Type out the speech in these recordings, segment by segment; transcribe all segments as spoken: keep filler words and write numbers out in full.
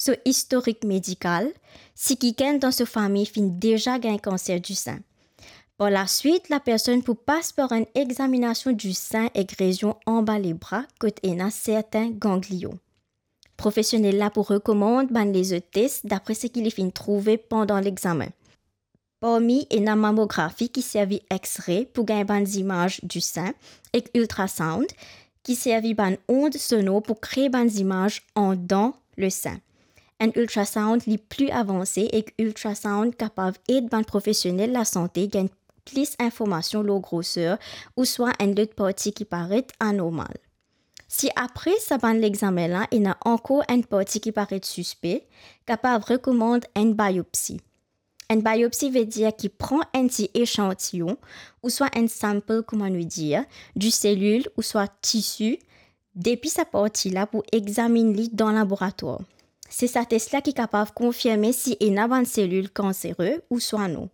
so istorik medikal, si kikenn dan so fami finn deza gagn kanser disin. Par laswit, lapersonn pou pas par enn examinasion disin ek rezion anba lebra kot ena sertin ganglion. Profesionel la pou rekomand bann lezot tes dapre seki li finn trouve pandan lexamen. Parmi ena mamografi ki servi X-ray pou gagn bann zimaz disin ek ultrasound ki servi bann ond sonor pou kree bann zimaz andan lesin. Enn ultrasound li pli avanse ek ultrasound kapav ed bann profesionel lasante gagn plis informasion lor groser ouswa enn lot parti ki paret anormal. Si apre sa bann lexamen la ena ankor enn parti ki paret sispe, kapav rekomand enn biopsi. Enn biopsi vedir ki pran enn ti echantiyon ouswa enn sample, kouma nou dir, di selil ouswa tisi depi sa parti la pou examinn li dan laboratwar. Se sa tes la ki kapav konfirme si ena bann selil kansere ouswa non.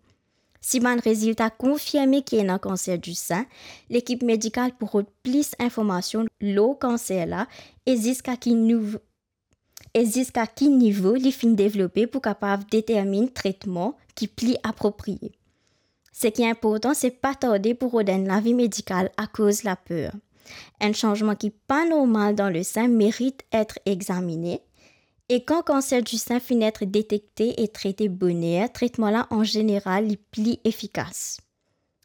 Si bann rezilta konfirme ki ena kanser disin, lekip medikal pou rod plis informasion lor kanser la e ziska ki niv-, e ziska ki nivo li finn devlope pou kapav determinn tretman ki pli apropriye. Seki inportan, se pa tarde pou rod enn lavi medikal akoz laper. Enn sanzman ki pa normal dan lesin merit et examine, e kan kanser disin finn et detekte e trete boner, tretman la an zeneral li pli efikas.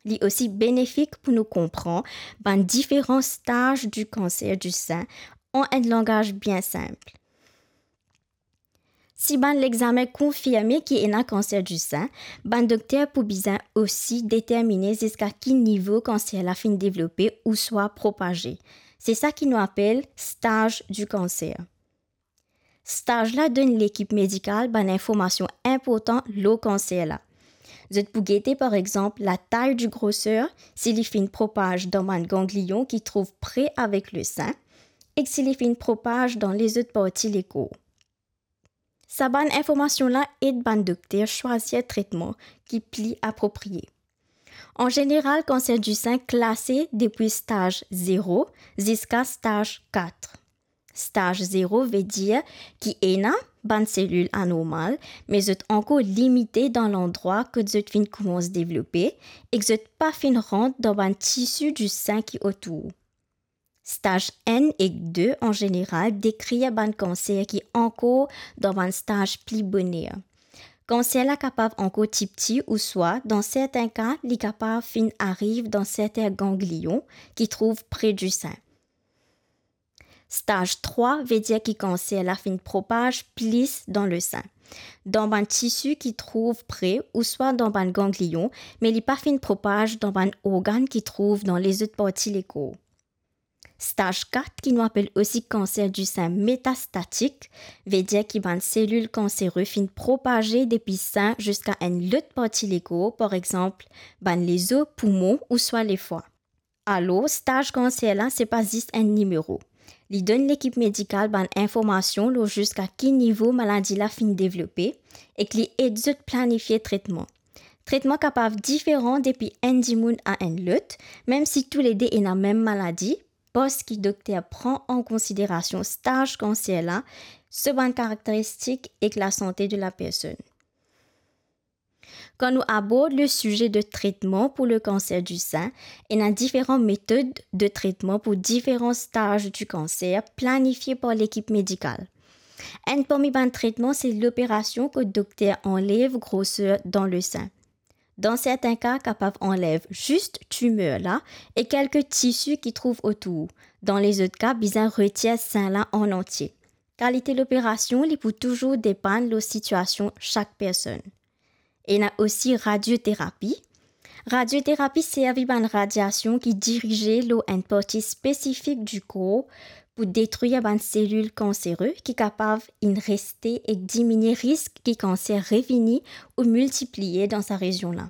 Li osi benefik pou nou konpran bann diferan staz di kanser disin an enn langaz bien sinp. Si bann lexamen konfirme ki ena kanser disin, bann dokter pou bizin osi determine ziska ki nivo kanser la finn devlope ouswa propaze. Se sa ki nou apel staz di kanser. Staz la donn lekip medikal bann informasion inportan lor kanser la. Zot pou gete, par exanp, latay di groser, si li finn propaz dan bann ganglion ki trouv pre avek lesin, ek si li finn propaz dan lezot parti lekor. Sa bann informasion la ed bann dokter swazir tretman ki pli apropriye. An zeneral, kanser disin klase depi staz zero ziska staz kat. Staz zero vedir ki ena bann selil anormal, me zot ankor limite dan landrwa kot zot finn koumans devlope ek zot pa finn rant dan bann tisi disin ki otour. Staz enn ek de an zeneral dekrir bann kanser ki ankor dan bann staz pli boner. Kanser la kapav ankor tipti ouswa, dan sertin ka, li kapav finn ariv dan sertin ganglion ki trouv pre disin. Staz trwa vedir ki kanser la finn propaz plis dan lesin, dan bann tisi ki trouv pre ouswa dan bann ganglion, me li pa finn propaz dan bann organ ki trouv dan lezot parti lekor. Staz kat, ki nou apel osi kanser disin metastatik, vedir ki bann selil kansere finn propaze depi sin ziska enn lot parti lekor, par exanp, bann lezo, poumon ouswa lefwa. Alor, staz kanser la, se pa zis enn nimero. Li donn lekip medikal bann informasion lor ziska ki nivo maladi la finn devlope, ek li ed zot planifie tretman. Tretman kapav diferan depi enn dimoun a enn lot, mem si toulede ena mem maladi, parski dokter pran an konsiderasion staz kanser la, so bann karakteristik ek lasante de lapersonn. Kan nou abord le size de tretman pou le kanser di sin, ena diferan metod de tretman pou diferan staz di kanser planifie par lekip medikal. Enn parmi bann tretman, se loperasion kot dokter anlev groser dan le sin. Dan sertin ka, kapav anlev zis timer la e kelke tisi ki trouv otour. Dan lezot ka, bizin retir sin la an antie. Kalite loperasion, li pou touzour depann lor sitiasion sak personn. Ena osi radioterapi. Radioterapi servi bann radiasion ki dirize lor enn parti spesifik di kor pou detrir bann selil kansere ki kapav inn reste ek diminie risk ki kanser revini ou miltipliye dan sa rezion la.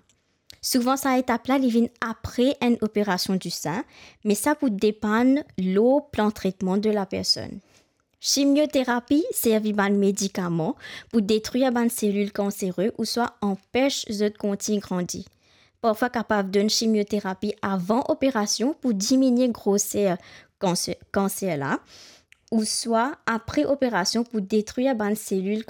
Souvan sa etap la, li vinn apre enn operasion di sin, me sa pou depann lor plan tretman de lapersonn. Chimioterapi servi bann medikaman pou detrir bann selil kansere ouswa anpes zot kontign grandi. Parfwa kapav donn chimioterapi avan operasion pou diminie groser kanser, kanser la, ouswa apre operasion pou detrir bann selil